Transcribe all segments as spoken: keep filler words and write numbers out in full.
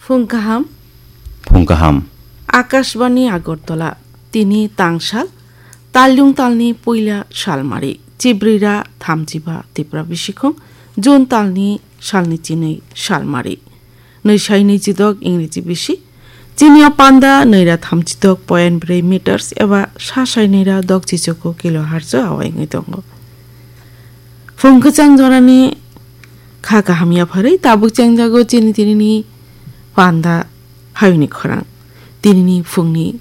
Phung kaham. Phung kaham. Akashbani Agartala, tini tangsal, talyung talni puila salmari, chibrira thamchiba Tipra bisikhung, June talni salni chinwi salmari. Nwi sai nwi chidok Ingreji bisi. Chini o panda nwi ra thamchidok point brwi meters eba sa sai nwi ra dok chichoko kilohertz o awai wngwi tongo. Phung kwchang jorani kha kaham yapharwi tabuk chengjago chini tinini panda hayungni khorang. Tinini phungni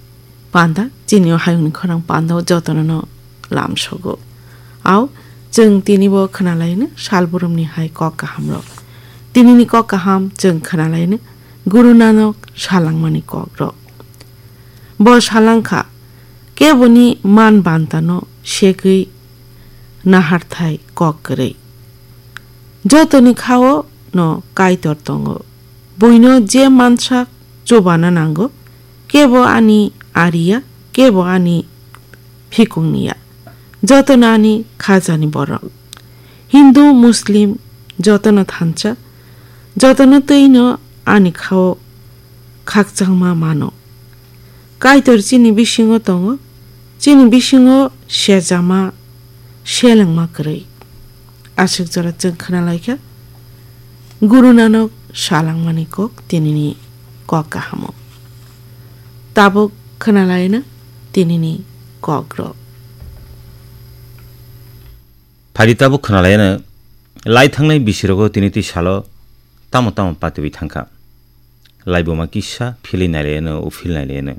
panda, chini o hayungni khorang panda o jotono no lamsogo. Au, chwng tini bo khwnalaino salburumni hai kok kahamrok. Tinini kok kaham chwng khwnalaino Guru Nanok salangmani kokrok. Bo salangkha, keboni man bantano segwi naharthai kok kwrwi. Jotoni khao no Kaitor tongo. Buino je mansak chubana nango, kebo ani ariya, kebo ani phikungniya. Jotono ani khajani borok. Hindu, Muslim, jotono thansa, jotono twino ani khao khakchangma mano. Kaitor chini bisingo tongo, chini bisingo sejama, selengma kwrwi. Aswk jora chwng khwnalaikha Guru Nanok salangmani kok tinini kok kahamo. Tabuk khwnalaina tinini kokrok. Phadi tabuk khwnalaina lai thangnai bisirogo tini twi salo tamo tamo patiwi thangkha. Laibuma kisa philwi nailaino, uphil nailaino,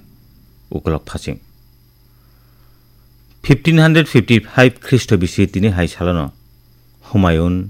ukolok phaching. Fifteen hundred fifty-five Khristo bisi tini hai salono Humayun